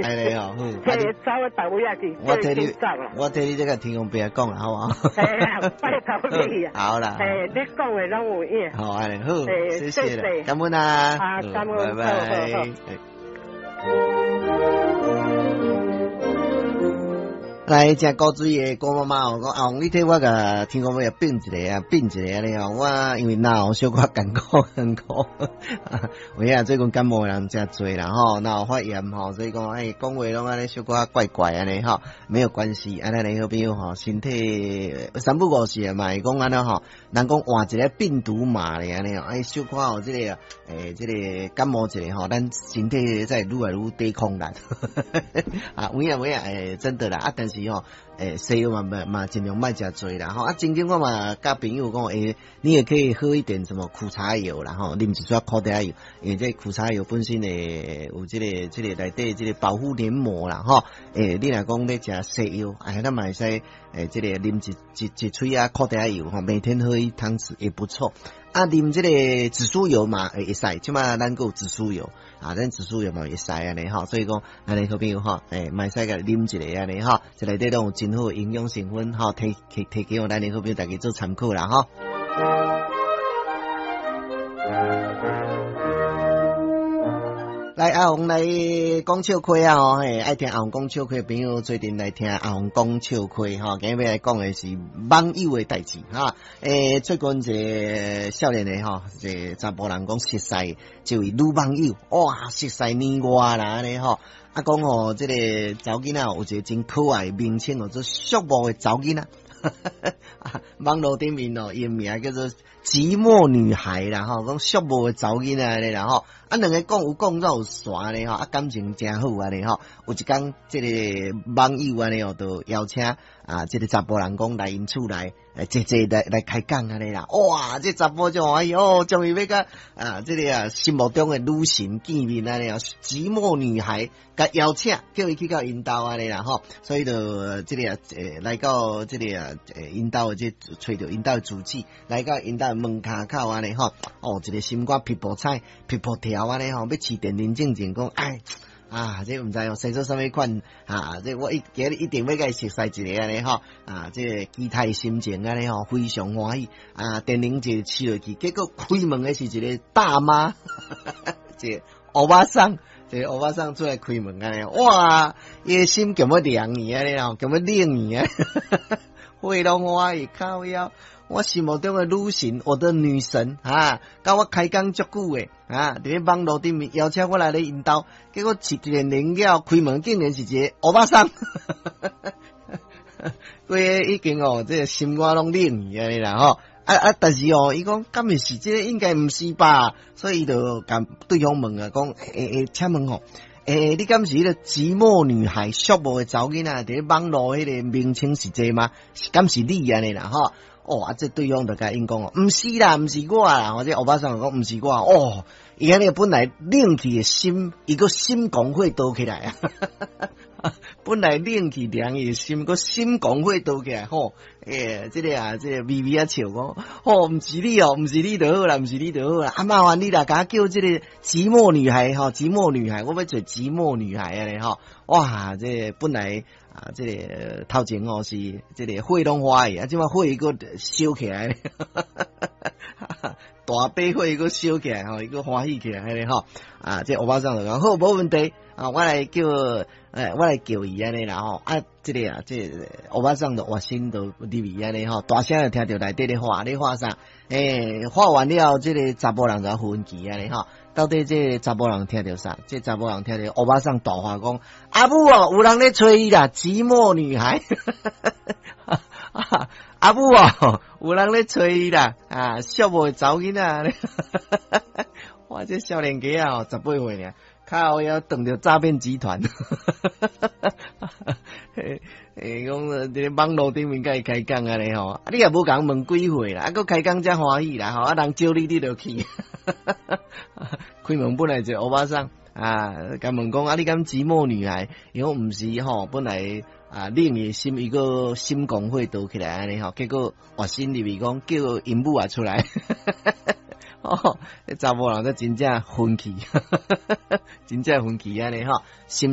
按呢哦，好。嘿，走去別位仔去。我替你，我替你這個天公伯講啦，好無？嘿啊，拜託你啊。好啦。嘿，你講的攏有影。好，按呢好，謝謝啦，感恩啊。啊，感恩，拜拜。來，誠古錐的郭媽媽哦，講阿王，你替我共天公伯變一下啊，變一下按呢哦。我因為腦小可艱苦艱苦，有影最近感冒的人誠濟啦吼，腦發炎吼，所以講哎，講話攏按呢小可怪怪按呢吼，沒有關係，按呢好朋友吼，身體三不五時嘛會講按呢吼，人講換一个病毒碼咧按呢哦，哎，小可有這個欸，這個感冒一下吼，咱身體才會愈來愈抵抗力。啊，有影有影，欸，真的啦，啊，但是吼，欸，西藥嘛嘛嘛盡量莫食濟啦吼。啊，曾經我嘛佮朋友講，欸，你也可以喝一點什麼苦茶油啦吼，啉一撮苦茶油，因為這苦茶油本身會有這個這個內底這個保護黏膜啦吼。欸，你若講咧食西藥，哎，咱嘛會使欸，這個啉一一一喙仔苦茶油吼，每天喝一湯匙也不錯。啊，啉這個紫蘇油嘛會使，這馬咱閣有紫蘇油啊，咱紫蘇油嘛會使按呢吼，所以講，按呢好朋友吼，欸，嘛會使共啉一下按呢吼，這內底攏有真好營養成分吼，提提提供咱的好朋友大家做參考啦吼。來，阿紅來講笑話啊！吼，嘿，愛聽阿紅講笑話的朋友，做陣來聽阿紅講笑話吼。今日欲來講的是網友的代誌哈。欸，最近一个少年的吼，一个查埔人講熟似一位女網友，哇，熟似年外啦按呢吼。啊，講吼，這個查某囡仔有一個真可愛的名稱，叫做寂寞的查某囡仔。網路頂面哦，伊的名叫做寂寞女孩啦吼，講寂寞的查某囡仔按呢啦吼。啊，兩個講有講煞有湠咧吼，啊，感情誠好按呢吼。有一工，這個網友按呢哦，就邀請啊，這個查埔人講來𪜶厝內，來坐坐來來開講按呢啦。哇，這查埔就歡喜哦，終於欲佮啊，這個啊心目中的女神見面按呢哦，寂寞女孩共邀請，叫伊去到𪜶兜按呢啦吼。所以就這個啊，欸，來到這個啊，欸，𪜶兜的這揣著𪜶兜的住址，來到𪜶兜的門跤口按呢吼。哦，一個心肝噼噗彩，噼噗跳按呢吼，欲飼電鈴進前講，哎，啊，這毋知哦，生做啥物款啊？這我一今日一定欲共伊熟似一下按呢吼，啊，這個期待心情按呢吼，非常歡喜啊！電鈴一飼落去，結果開門的是一個大媽，一個歐巴桑，一個歐巴桑出來開門按呢，哇，伊的心強欲涼去按呢吼，強欲冷去啊！火攏歡喜靠腰。我心目中的女神，我的女神啊，佮我開講足久的啊，佇咧網路頂面邀請我來咧𪜶兜，結果飼電鈴了開門，竟然是一個歐巴桑，規個已經哦，這個心肝攏冷去按呢啦吼，啊啊，但是哦，伊講敢會是這個應該毋是吧？所以伊就共對方問啊，講欸欸，請問吼，欸，你敢是彼個寂寞女孩、寂寞的查某囡仔？佇咧網路彼個名稱是這嗎？敢是你按呢啦吼？哦，啊，這對方就共𪜶講哦，毋是啦，毋是我啦，或者歐巴桑講毋是我，哦，伊按呢本來冷去的心，伊閣心狂火刀起來啊！本來冷去涼伊的心，閣心狂火刀起來吼，欸，這個啊，這個微微仔笑講，吼，毋是你哦，毋是你就好啦，毋是你就好啦，啊，麻煩你啦，共我叫這個寂寞女孩吼，寂寞女孩，我欲做寂寞女孩按呢吼，哇，這個本來。啊，這個頭前哦是這個火攏歡喜，啊，這馬火閣燒起來，大把火閣燒起來吼，伊閣歡喜起來按呢吼。啊，這歐巴桑就講好，無問題啊，我來叫，欸，我來叫伊按呢啦吼。啊，這個啊，這個歐巴桑就活身就入去按呢吼，大聲就聽著內底咧喊咧喊啥？欸，喊完了，這個查埔人就昏去按呢吼。到底這個查埔人聽著啥？這查埔人聽著歐巴桑大喊講：阿母哦，有人咧揣你啦，寂寞女孩。阿母哦，有人咧揣你啦，啊，寂寞的查某囡仔。哇，這少年家哦，18歲爾，靠腰撞著詐騙集團。欸欸，講佇咧網路頂面共伊開講按呢吼，啊你也無共問幾歲啦，啊閣開講才歡喜啦吼，啊人招你你就去。開門本來一個歐巴桑啊，共問講啊，你敢寂寞女孩？伊講毋是吼，本來啊，冷伊心伊閣心狂火刀起來按呢吼，結果活身入去講叫𪜶母也出來。哦，這查埔人才真正昏去，真正昏去按呢吼，心。